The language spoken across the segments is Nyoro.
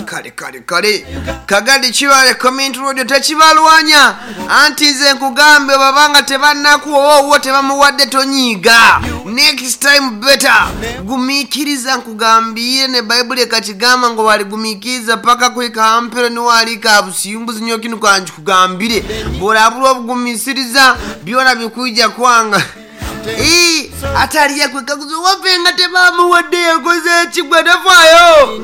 Kale kale kale, Kagadi Kibale Community Radio tekibalwanya. Anti nze nkugambe, babanga tebannakuwa oba owuwo tebamuwadde, tonyiiga. Next time better. Gumiikiriza, nkugambire ne Bayibuli ekakigamba ngo waligumiikiriza paka kuhika hampero niwalika busimbuzi. Nyo kinu kankikugambire, bw'orabura obugumisiriza byona bikwija kwanga. Ii, ate aliya kwekaguza owaffe nga tebamuwadde yakoze ekigwa. Tafaayo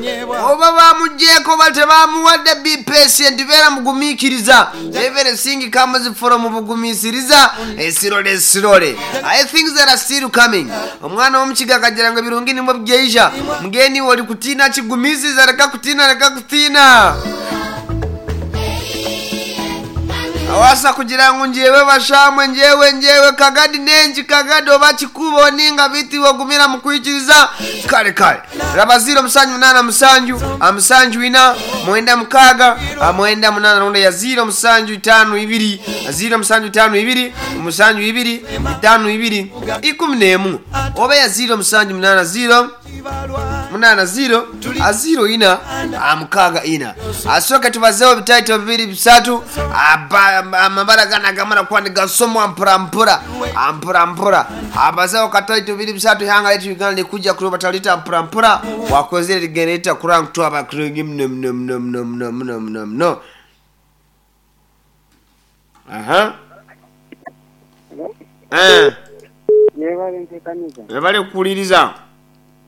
oba bamugyeko oba tebamuwadde, be patient, beera mugumiikiriza. Everything comes from bugumiisiriza. Slowly slowly, I things that are still coming. Omwana w'omukiga akagira ngo ebirungi nimwo byeija. Mugeni oli kutiina, kigumiisiriza, leka kutiina, leka kutiina. Awasa kugira ngu njewe bashamwe, njewe njewe Kagadi nengi Kagadi oba kikubo ninga biti ogumira mu kwikiriza. Kale kale, raba 078 7 4 96 98, ronda ya 0752 0752 72 52 11 oba ya 0780 80 04 64. Asooke tubazeewo bitaito bibiri bisatu. Amabara gana gamara kuba nigasomwa mpora mpora mpora mpora. Abazeewo kataito bibiri bisatu. Ihanga letu Uganda likujja kuloba talita mpora mpora wakozere ligendereta kuranga abakurungi mno mno mno mno mno mno mno mno. Aha. Yebale ntekaniza. Webale kuwuliriza.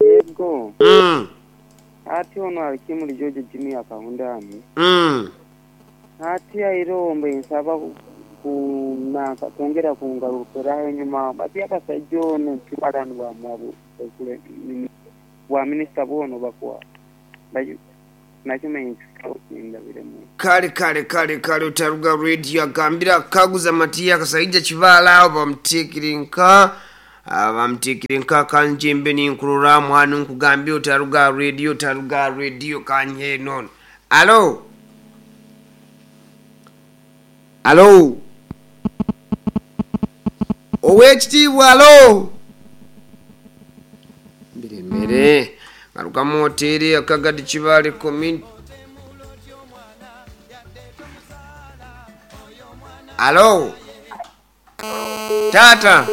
Yego. Ati ono alikimuli George Jimmy akahundani. Ati airombe nsaba kunaka kwongera kungarukiraho enyuma bati abasajja ono kibalani bwa mwabu bwa minisita bwono bakuwa nakimanya ndabiremu. Kale kale kale kale, utaruga radio agambira kaguza Matiya Kasaija Kibaala awo bamuteekere nka bamuteekere nka kanjembe ninkururamu hano nkugambye otaruga radio, otaruga radio kanye nono. Alo, alo, owekitiibwa, alo, biremere ngarukamu oteere Akagadi Kibaale Community. Alo, tata.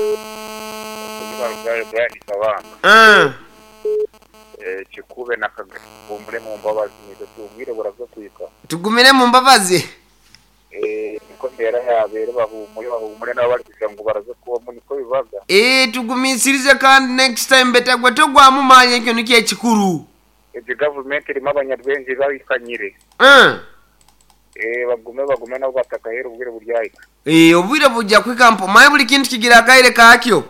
Kikube na Kagadi mu mbabazi nizo tubwire buraza kwika. Tugumire mu mbabazi. Niko mbera yabere bahumure bahumure nabo bari kugira ngo baraze kuba niko bibaga. Tugumisirize kandi next time betagwa togwamu manye ekyo nikyo ekikuru. Ezi government irimo abanyarwenge babikanyire. Bagume bagume nabo batakahera ubwire buryayika. Obwire bujja kwika mpo maye buli kintu kigira akaire kakyo.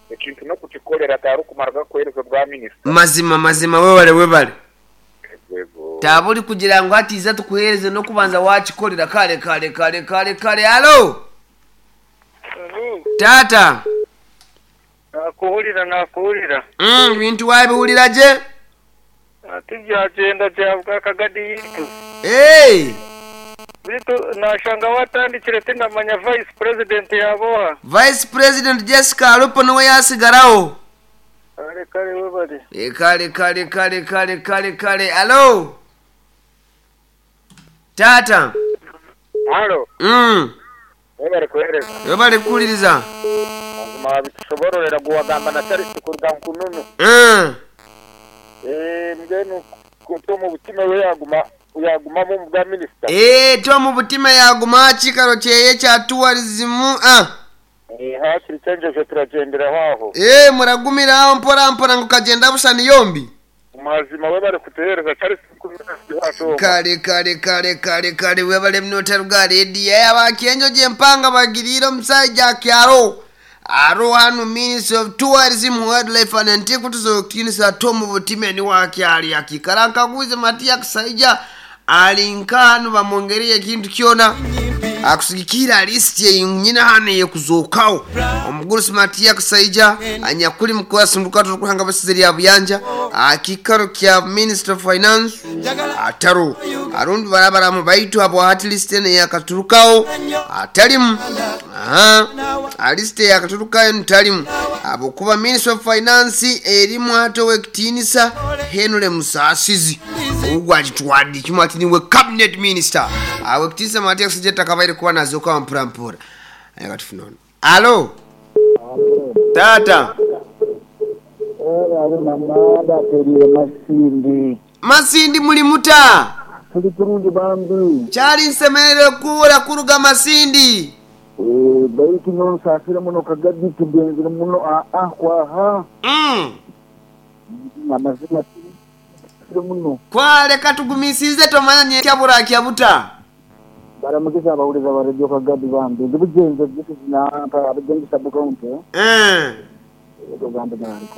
Ekintu no kukikolera atari kumara kwereza bwa minisita. Mazima mazima, webale webale. Tabuli kugira ngo atiza tukuhereze no kubanza wakikolera. Kale kale kale kale kale, alo. Tata. Nakuwulira nakuwulira. Bintu wabiwulira je? Ati byagenda byavuga Kagadi yitu. Bitu nashanga watandikire tindamanya vice president yaboha. Vice President Jessica Alupo niwe yasigarawo. Kale kale webale. Kale kale kale kale kale kale, alo. Tata. Alo. Webale kuhereza. Webale kuwuliriza. Mazima bitusobororera guwagamba na Charles kuruga nkununu. Mgenu kutomo butima we yaguma yaguma mu bwa minister. Tomu butima yaguma kikaro kyeye kya tourism. Hakiri cyenjeje turagendera aho. Muragumira aho mpora mpora ngo kagenda busani yombi. Mazima webale kutehereza Charles kuruga. Kale kale kale kale kale, webale mnotaruga radio abakenjo je mpanga bagirira omusajja kyaro. Aro hano Minister of Tourism, Wildlife and Antiquities okutinisa Tomu Butime ni wakyali akikara nkaguze Matiya Kasaija alinka hano bamwongereye ekintu kyona akusigikira list nyina hano yekuzookawo. Omugurusi Matiya Kasaija anyakuli mukwasumbuka turukuhanga basize lya buyanja akikaro kya Minister of Finance ataro Arundi barabaramu baitu abo hati list eno yakaturukawo atalimu. Aha, list yakaturukayo ntalimu abo kuba Minister of Finance erimu ate owekitiinisa Henry Musasizi ogwagitwadde kimu ati niwe cabinet minister awekitiinisa Matias Jetta kabaire kuba nazoka mpura mpura. Katufuna ono. Alo tata. Masindi. Masindi muli muta? Tuli kurungi bambi. Kyali nsemerere kuwura kuruga Masindi. Baitu nonsasire muno Kagadi tugenzire muno kwaha. Amazima muno. Kwaleka tugumisize tomanya nyekyabura kyabuta. Baramugeza abawuliza ba Radio Kagadi bambi. Ndi bugenze na abagenzi sabukaunti.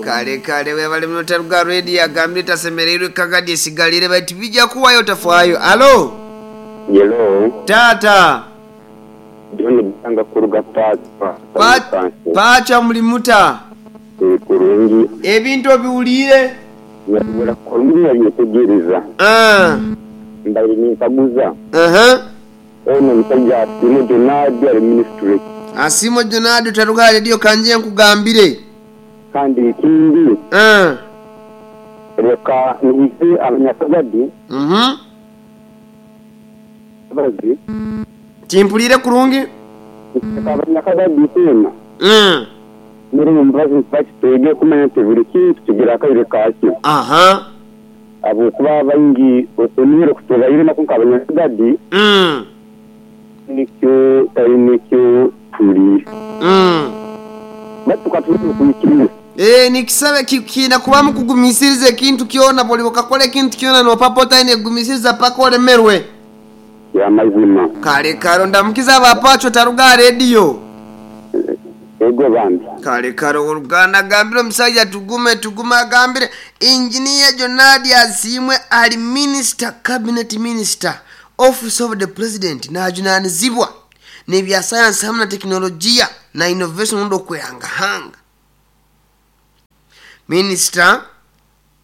Kale kale webale muno taruga radio agambire tasemereirwe Kagadi esigalire bati bijja kuwayo tafaayo. Alo. Hello. Tata. John Banga kuruga Pacha. Pacha muli muta? Kurungi. Ebintu obiwulire? Nyabura kurungi yabyetegereza. Mbaire ninkaguza. Ono musajja Asimo Jonadi ali ministry. Asimo Jonadi taruga radio kanje nkugambire. Kandi ikindi. Reka nize abanyakagadi. Bazi. Timpulire kurungi? Abanyakagadi tena. Muri mbazi mpakitege kumanya nti buri kintu kigira akaire kakyo. Abo kuba baingi okunire kutubaire nako nk'abanyakagadi. Nikyo tari nikyo turi. Batuka turi kuyikiriza. Nikisabe kina kubamu kugumisiriza ekintu kyona buli okakola ekintu kyona nopapota ine kugumisiriza paka olemerwe. Ya mazima. Kale kale ndamukiza abapacho taruga radio. Ego bambi. Kale kale oluganda gambire omusajja tugume tugume agambire Engineer Jonadi Asiimwe ali minister, cabinet minister, office of the president n'ajunaanizibwa n'ebya science hamwe na teknologiya na innovation mundo okwehangahanga. Minister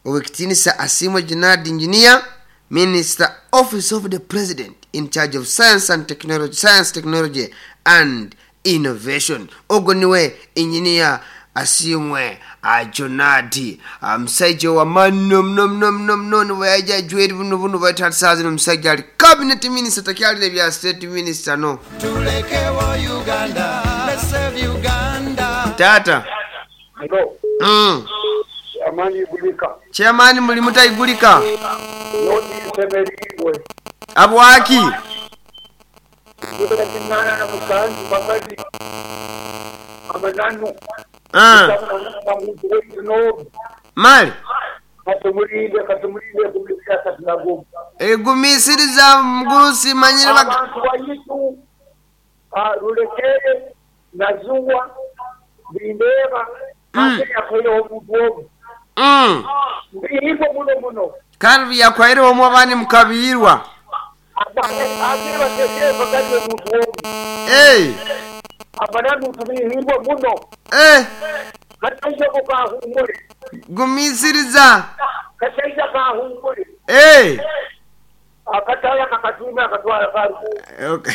owekitiinisa Asiimwe Jonadi Engineer, Minister Office of the President in charge of science and technology, science, technology and innovation. Ogwo niwe Engineer Asiimwe Jonadi omusajja w'amaani muno muno muno muno niwe yaija ajwaire buno buno baita zino omusajja ali cabinet minister takyalina ebya state minister no. Tulekewo Uganda, let's save Uganda. Tata. Hello. Amani igulika. Chairman muli mutaigulika. Nodi semerigwe. Abwaki. Mali. Egumisiriza mgurusi manyire abantu bayitu rulekere nazuwa bindeba akayakore omuntu Mbihirwa muno muno. Kandi yakwaire omwe abandi mukabirwa. Gumisiriza. Akatala kakatuma akatwala karuku. Okay.